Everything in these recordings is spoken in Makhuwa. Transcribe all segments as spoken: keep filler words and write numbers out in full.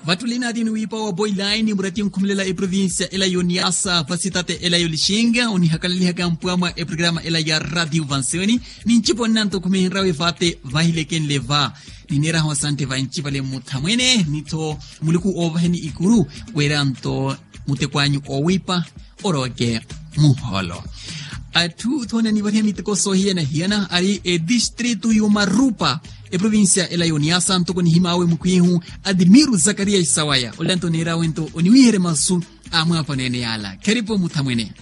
Vattulina atini wiipa wa boilaini murati onkhumelela eprovincia ela yoniasa vasitate ela yolixinga onihakalelihaka mpwamwa eprograma ela ya radio vansewani. Nincipo nnanto khumihenrawe vate vahilekenle va. Nineeraha osante vanci vale mmuthamwene ni-tho muluku oovaheni ikuru. Wira nto muteko anyu owiipa oroweke muholo. Atthu thoona nivariha miteko soohiyana-hiyana ari edistritu y'omarupa eprovincia ela y'oniasa ntoko nihimaawe mukhwihu admiru zakariya isawaya olanto neerawe nto oniwiherye masu a mwaapano ene yaala kheripo muthamwene.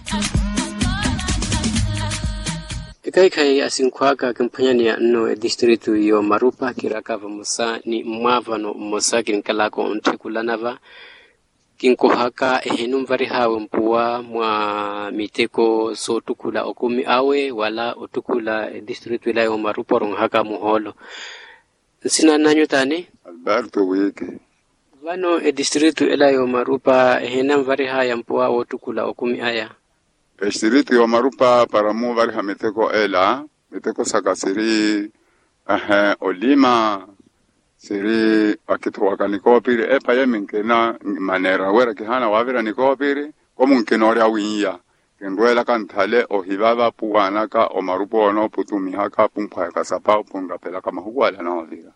Ekhayi-khayi asinkhwaka kimphwanyaniya nno edistritu y'omarupa kiraka vamosa ni mmwaavano mmosa kinkalaka ontthekulana va. Kinkohaka ehinumvarihaawe mpuwa mwa miteko soottukhula okumi awe wala ottukhula edistritu ela y'omarupa oronhaka muhoolo. Nsina nanyu taani? Alberto wiki. Vano edistritu ela y'omarupa ehinamvarihaya mpuwa woottukhula okumi aya. Esitiritu y'omarupa para muuvariha miteko ela miteko saka siri ehe olima siri akithuwaka nikoopiri epa yemi nkina maneera wira kihaana waavira nikoopiri. Komu nkinoorya wiiya kinrweelaka nthale ohivava puwaanaka omarupa onooputumihaka pumphwayaka sapa opunrapelaka mahuku ala noovira.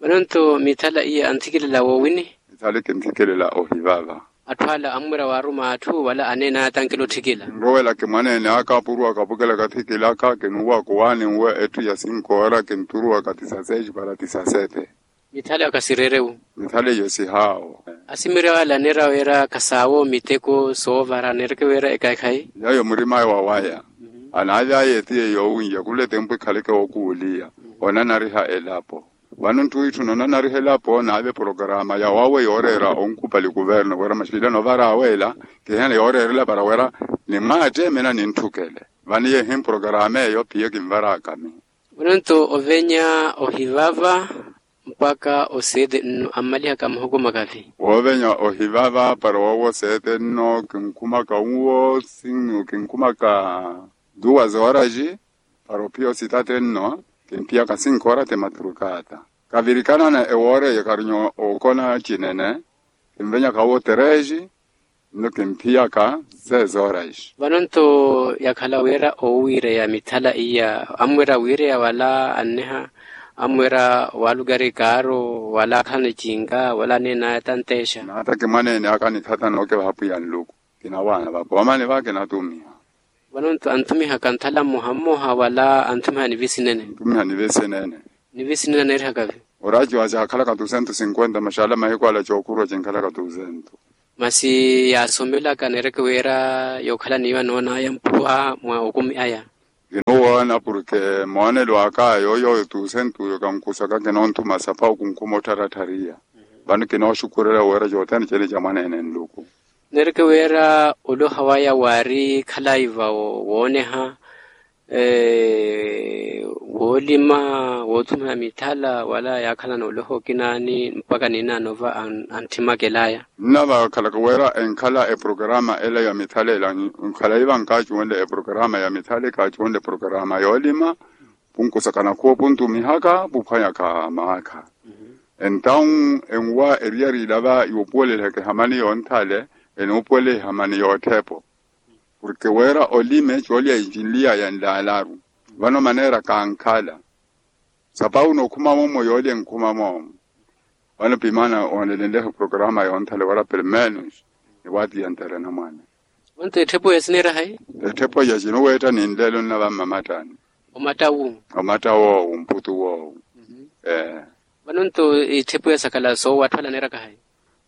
Vano nto mithala iya anthikilela woowini? Mithala kinthikilela ohivava. Atthu ala ammwira waaruma atthu wala aneena aya tankila otthikila? Nrowelaka mwaneene aka apuruwaka apukela kathikilaka kinuwaka owaani nwe etthu ya sinkoora kinturuwaka tisasexi para tisasete. Mithala eyo kasireere wu? Mithala eyo sihaawo. Asimiri awo ala aneera wira khasaawo miteko soovara aneereke wira ekhayi-khayi? Yayo murim'aya wawaya. Anaavya aya etiye yoowinya khunle tempu ekhaleke wookuwuliya onanariha elapo. Vano ntthu itthu nonanariha elapo naave programa yawawe yooreera onkupali kuverno wira maxilano ovara aweela kihena yooreerela para wira nimwaatteemena nintthukele. Vano yeehi programa eyo piye kinvaraka mi. Vano nto ovenya ohivava mpakha oseete nno ammalihaka mahuku makavi? Woovenya ohivava para woowo oseete nno kinkhumaka nwo sinnu kinkhumaka duwa zooraxi para ophiya ositate nno. Kimphiyaka sinkoora ti maturukata kavirikanana ewoora eyo karinya okona cinene. Kimvenyaka wo terexi nno kimphiyaka sezoraxi. Vano nto yakhala wira owiireya mithala iya ammwira wiireya wala anniha ammwira walukari kaaro wala akhala ni cinka wala aneenaya tanteexa. Naata kimwaneene aka nithata nookevaha pwiya nluku kinawaana vapoomani va kinatumiha. Vano nto anthumihaka nthala mmoha mmoha wala anthumihani visinene? Anthumihani visinene. Ni visinene aneerihaka vi? Oraci wa caakhalaka dusentu sinkwenta maxaala mahiku ala cookhurwa cinkhalaka dusentu. Masi yaasomelaka aneereke wira yookhala niiwa noonaya mpuwa mwa okumi aya? Kinuwoona porke moonelo aka yooyo dusentu yo kankusaka kinoonthuma sapa okunkhuma ottharatthariyya. Vano kinooxukurela wira cothene cene ca mwaneene nluku. Neereke wira oloha waya waari khalayi va wooneha woolima woothumiha mithala wala yaakhalana oloha okinaani mpakha ninaano va anthimakelaya. Nnavakhalaka wira enkhala eprograma ela ya mithala ela nkhala iva nkaacuwenle eprograma ya mithala ekaacuwenle eprograma yoolima. Punkusaka nakhuwa opuntumihaka puphwanyaka maakha. Entawu enwa eriyari ilava yoopuwelelihaka ehamani yoonthale enoopuwela ehamani yootthepo. Porke wira olime coolya icinliyaya nlaalaru. Vano maneera kankhala sapa unookhuma moomo yoolya enkhuma moomo. Vano pimana oonelenleha programa yonthala wira permenus niwaatiya ntere namwane. Onto etthepo ya sineera hayi? Etthepo ya cinuweetta ni nlelo nnava mmamattani. Omatta wu? Omatta woowu mputu woowu. Ee. Vano nto etthepo ya sakhala soowa atthu ala aneeraka hayi?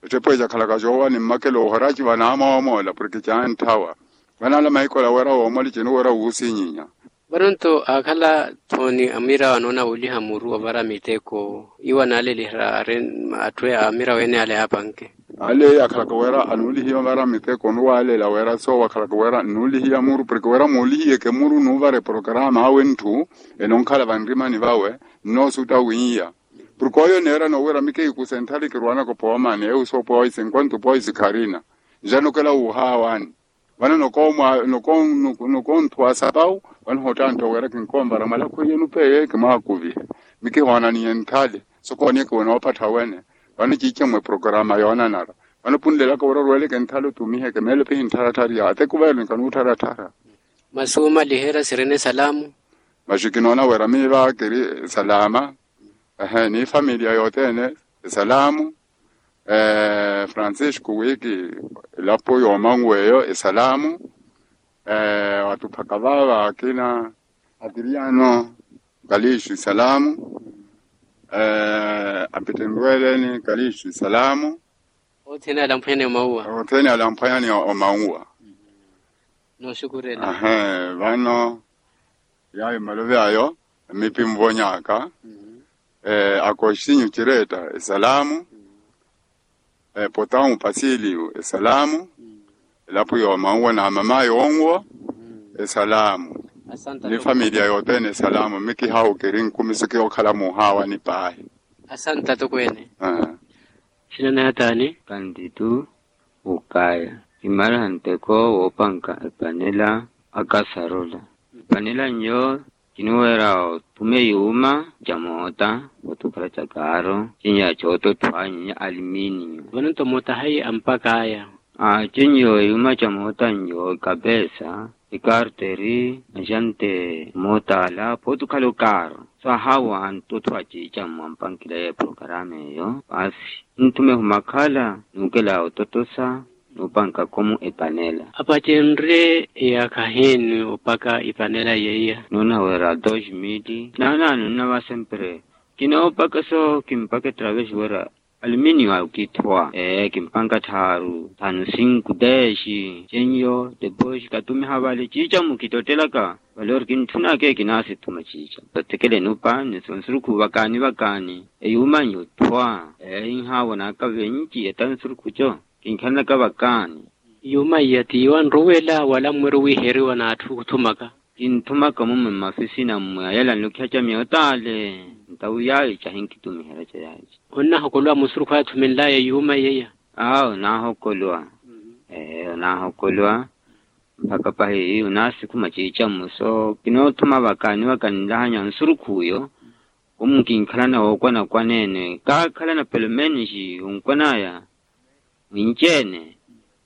Etthepo ya cakhalaka coowa ni mmakelo oohora civa naamoomola porke canthawa. Vano ala mahikola wira woomoli cino wira wuusinyinya. Vano nto aakhala thooni amira wanoona wuuliha muru ovara miteko iwo anaalelihira ari atthu amira weene ale apanke. Ale akhalaka wira anuulihiya ovara miteko onuwaalela wira soowo akhalaka wira nnuulihiya muru porke wira muulihiye ke muru nuuvara eprograma awe ntthu enonkhala vanrimani vawe. Nnoosutta wiiya porke oyo neerana owira mikehiku senthaliki rwanaka opoomani ewu soopoisi enkwantu opoisi kharina. Njanokela wuuhaawani. Vano nokonthuwa sapawu vano hoottantta wira kinkoonvara mwalakhu eyo nupeeye kimwaakuvihe. Mikihoonaniye nthale sokooniyeke wene oopattha wene. Vano ciica mwe programa yoonanara. Vano punlelaka wira orweleke nthale otumiheke meelo pihi nttharatthari ya ate kuveelo nikanuuttharatthara. Masi umaliherya sirina esalamu. Masi kinoona wira miiva kiri esalama. Ehe ni familiya yothene esalamu. Francisco wiki elapo yoomangu eyo esalamu. Wattuphaka vaava akina atiriyano kalixu esalamu. Apittenrweleni kalixu esalamu. Othene alamphwanyani omauwa. Othene alamphwanyani omauwa. Nooxukurela. Ahe vano yayo malovi ayo amipi muvonyaka. Akoxinyu ciretta esalamu. Potão pasiliu esalamu. Elapo yoomauwa na mamayi onwo esalamu. Ni familiya yothene esalamu mikihawu kiri nkumiso kiyookhala muhaawani paahi. Asanta tokweene. Sina naataani kantitu ukaya kimariha nteko woopanka epanela akasarola. Epanela nyo kiniweera othume yuuma ca moota otukhala ca kaaro cinyo ya cootothwa nyenya aliminiyo. Vano nto moota hayi ampakaya. Cinyo yuuma ca moota nyo ekapeesa ekarteri axante moota ala phooti okhala okaaro. Saahawa nto othwa ciica mwampankila ya eprokarama eyo paasi. Nthume humakhala nuukela ototosa nuupanka komu epanela. Apacenrye eyaakha hiini opaka epanela yeiya? Noona wira dos mili naanaano nnava sempre. Kinoopaka so kimpaka etravesi wira aluminio akithowa ee kimpanka tthaaru thaanu sinku deshi. Cenyo depois katumiha vale ciicamu kitottelaka vale ori kintthunaka ee kinaasithuma ciicamu. Vathekele nupa ni sonsurukhu vakaani vakaani eyuumanyu otthowa ee inhaavo naakave nci eta nsurukhu co. Kinkhalanaka vakaani. Yuuma iya ti yowanruwela wala mmweri owiiheriwa n'atthu okhuthumaka? Kinthumaka mumwe mmafisina mmwe ayala nlukhiha ca myotaale. Ntawi yaayo cahinkitumiherya ca yaayo ca. Onnahokolowa musurukhu aathumenlaya yuuma yeya? Awo naahokolwa. Ee onaahokolwa. Mpakha pahi onaasikuma ciicamu so kinoothuma vakaani vakaani nlahanya nsurukhu uyo. Omu kinkhalana wookwanakwaneene kaakhalana pelomenixi onkwanaya mwinci-ene.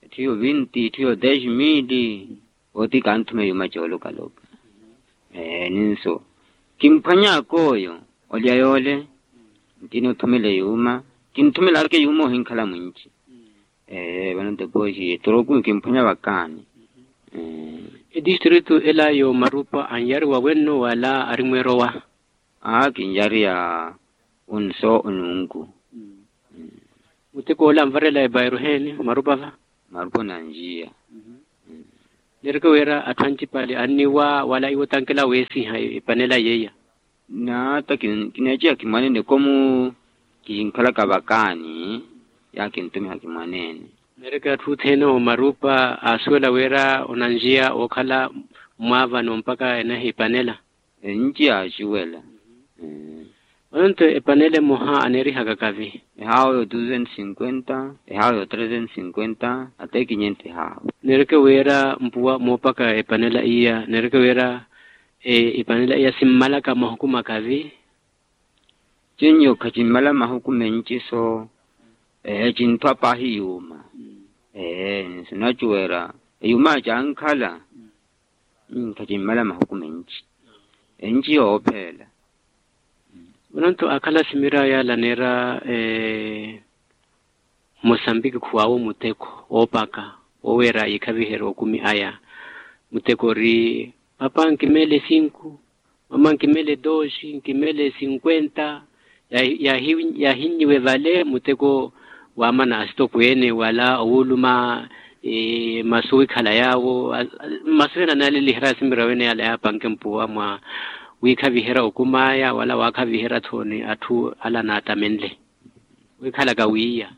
Etthu yo vinti etthu yo dez mili. Ooti kanthume yuuma coolokaloka. Ee ninso kimphwanyaka oyo olya yoole. Nti noothumela yuuma kinthumelaka yuuma ohinkhala mwinci. Ee vano depois etoroku kimphwanya vakaani. Ee. Etistritu ela yoomarupa anyariwa wenno wala ari mweerowa? Aa kinyariya onso onunku. Muteko ola anvarela ebairo heeni marupa va? Marupa onanjiya. Neereke wira atthu ancipale anniwa wala iwo tankela weesiha epanela yeiya. Naata kineeciha kimwaneene komu kihinkhalaka vakaani. Yaakintumiha kimwaneene. Neereke atthu othene omarupa aasuwela wira onanjiya ookhala mmwaavano mpakha enahipanela. Enci yaaxiwela. Onto epanela emoha aneerihaka kavi? Ehaawo yo two thousand cinquenta ehaawo yo three thousand cinquenta. Ate kinyenta ehaawo. Neereke wira mpuwa moopaka epanela iya neereke wira epanela iya simmalaka mahuku makavi? Cinyo khacimmala mahuku menci so. Ee cinthwa paahi yuuma. Ee nsunacuwera eyuuma cankhala. Khacimmala mahuku menci. Enci yoopheela. Munanto akhala simira yaala neera mosambiki khuwaawo muteko woopaka woowera yiikhaviherya okumi aya. Muteko ori papa nkimeele sinku mama nkimeele doxi nkimeele sinkwenta. Yaahinnyiwe vale muteko waamana asitokweene wala owuluma masu wikhala yaawo. Masu ena analeliherya simira wene yala yaapanke mpuwa mwa wiikhaviherya okumaya wala waakhaviherya thooni atthu ala anaatamenle wikhalaka wiiya.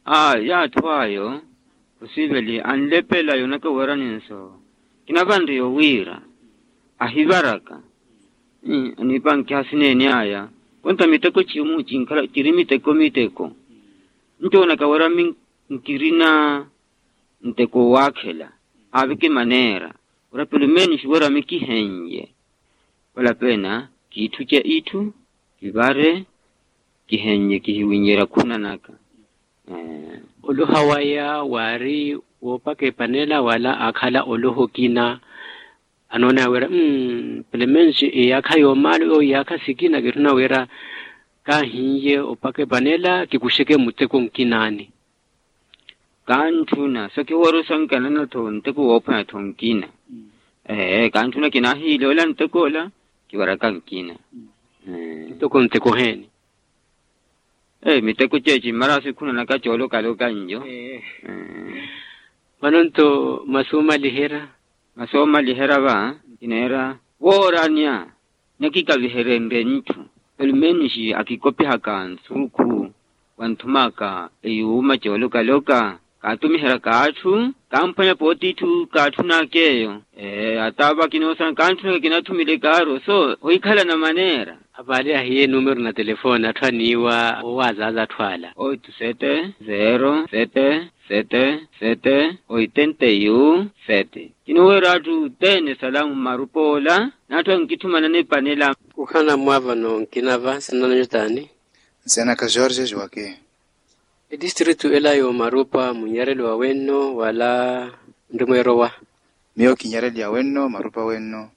Aa yaatthu ayo osiiveli anlepela yoonaka wira ninso kinavanriya owiira ahivaraka. Aniipankiha sineeni aya konta miteko cimu cinkhala ciri miteko miteko. Ncoonaka wira minkirina nteko owaakhela aaveke maneera wira pelomenixi wira mikihenye. Wala peena kiitthuce itthu kivare kihenye kihiwinyerya khunanaka. Oloha waya waari woopaka epanela wala aakhala oloha okina anoonaya wira mmm pelemensi iyaakha yoomaala oyo iyaakha sikina kirina wira kaahinye opaka epanela kikuxeke muteko nkinaani. Kaantthuna so kihuwara osankana natho nteko woophwanya tho nkina. Ee kaantthuna kinaahiile ola nteko ola kiwaraka nkina. Nteko nteko heeni? Miteko ceeci mmarasi khunanaka coolokaloka nyo. Vano nto masu omaliherya? Masu omaliherya va kineera wooranya nakikaviherenrye ntthu. Pelumenixi akikopihaka nsurukhu wanthumaka eyuuma coolokaloka kaatumiheryaka atthu kamphwanya pooti itthu kaatthunaka eyo. Ee ataava kinoosana kaantthunaka kinathumile kaaro so ohikhalana maneera. Apaali ahiye numero na telefoni atthu aniiwa owaazaaza atthu ala. Oito sete zero sete sete sete oitenta e um sete. Kinuweera atthu othene salamu mmarupa ola n'atthu ankitthumana nipanela. Kukhala namwaavano nkina va nsina nanyu taani? Nsinaka jorge joaquin. Etistritu ela y'omarupa munnyarelo wa wenno wala nri mweerowa? Miyo kinyareliya wenno marupa wenno.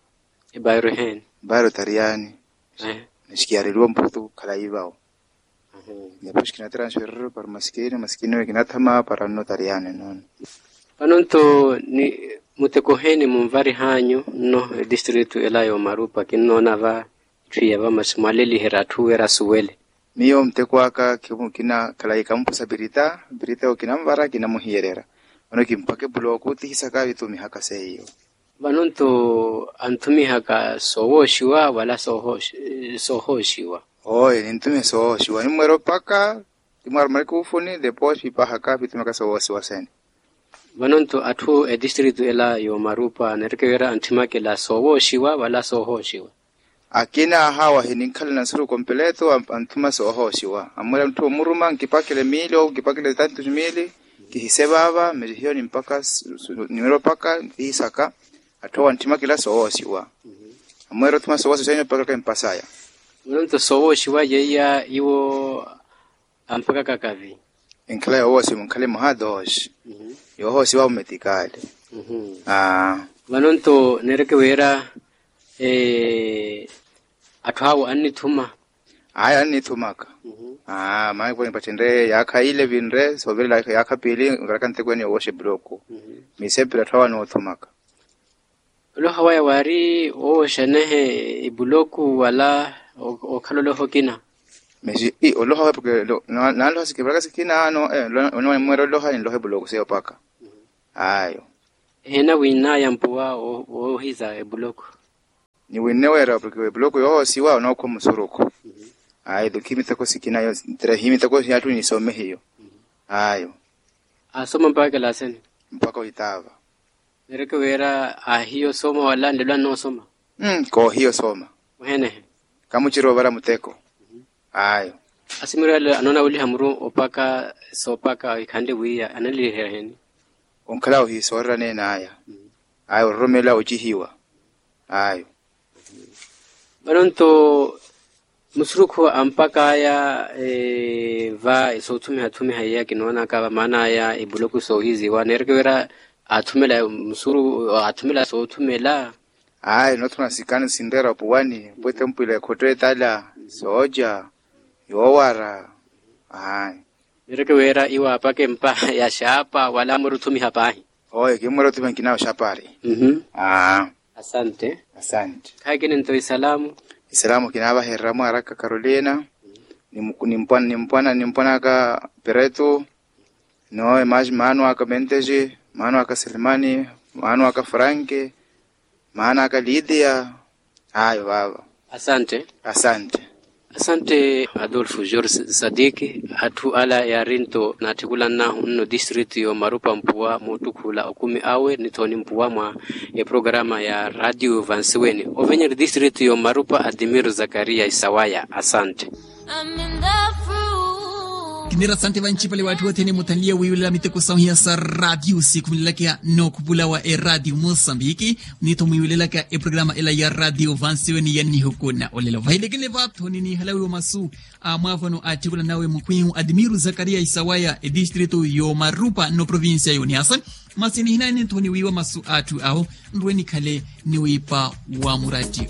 Ebairo eheeni? Bairo tariyaani. Nixikiyareliwa mputu khalayi vawo. Nepo xikinatransfereryo para masikini masikini wekinathama para nno tariyaani nono. Vano nto ni muteko oheeni munvarih'anyu nno etistritu ela y'omarupa kinnoona va itthu iya va masi mwaleliherya atthu wira asuwele? Miyo muteko aka khimukina khalayi kamupusa pirita pirita yo kinamuvara kinamuhiyerera. Vano kimpaka epulooku tihisaka vitumihaka seiyo. Vano nto anthumihaka soowooxiwa wala soohooxiwa? Oyo ninthumiha soowooxiwa nimweera opaka. Timwarumari kuufuni depois vipahaka vitumihaka soowooxiwa sene. Vano nto atthu etistritu ela y'omarupa neereke wira anthimakela soowooxiwa wala soohooxiwa? Akina ahawa hininkhalana nsuruku mpeleto anthuma soohooxiwa ammwira muthu omuruma nkipakele miili ou nkipakele tantus miili. Kihise vaava miri hiyo nimpaka nimero paka nkihisaka. Atthu awo anthimakela soowoosiwa. Ammwera othuma soowoosiwa saini opakaka empasaya. Mwananto soowoosiwa yeiya iwo ampakaka kavi? Enkhala yoowoosiwa enkhala emoha dos. Yoohoosiwa awo metikali. Mwananto neereke wira atthu awo annithuma? Ayi annithumaka. Maana kipwa nipathenrye yaakha ile vinre soovirela yaakha piili nvaraka ntekweni yoowoxa epuloku. Miisepira atthu awo anoothumaka. Oloha waya waari woowoxanehe epuloku wala? Okhala oloha okina? Mesi ii oloha waya porke naaloha sikina ano. Onimweera oloha ninloha epuloku seiyo opaka. Ayo. Eheena wiinaya mpuwa woohiza epuloku? Niwinne weera porke epuloku yoohoosiwa onookhwa musurukhu. Ayo do khimithako sikina yo. Ntere himithako yatthu nisoome hiyo. Ayo. Aasoma mpakha kilaasini? Mpakha oitaava. Neereke wira aahiya osooma wala nlelo annoosoma? Koohiya osooma. Muhenehe? Kamucira ovara muteko. Ayo. Asimiro ale anoona wuliha muru opaka soopaka ikhanle wiiya analiherya heni? Onkhala ohiisoorera neenaya. Ayo ororomela ocihiwa. Ayo. Vano nto musurukhu ampak'aya va soothumiha-thumiha iya kinoonaka vamaan'aya epuloku soohiziwa neereke wira aathumela musuru aathumela soothumela. Ayi noothumela sikani sinreera opuwani mpwete mpwila ekhotto etala sooca yoowara. Ayi. Neereke wira iwo aapaka empa ya xaapa wala ammwera othumiha paahi? Oyo kimmwera othumiha nkina oxapari. Asante. Asante. Khaakini nto isalamu? Isalamu kinaavahererya mwaaraka carolina, nimpwanaka piretu, no maano aka menteji, maano aka selemani, maano aka franke, maano aka lidia. Ayo vaava. Asante. Asante. Asante adolfo george sadiki. Atthu ala yaari nto naatthikulannahu nno distritu y'omarupa mpuwa moottukhula okumi awe ni thooni mpuwa mwa eprograma ya ratiyo vansiweni ovenyeri distritu y'omarupa adimiro zakariya isawaya asante. Kinira sante vanci pale watthu othene muthanliya wiiwelela miteko sahu hiya sa radio sikhumelelaka nookhupula wa eradio mosambiki, nitho mwiiwelelaka eprograma ela ya radio vansiweni ya nihuku na olelo vahilekenle vattho ninihalawiwa masu a mwaavano a tthikula nawe mukhwihu admiru zakariya isawaya edistritu y'omarupa n'oprovincia y'oniasa. Masi nihinanentho niwiiwa masu a atthu awo nrwe nikhale niwiipa wa muratti.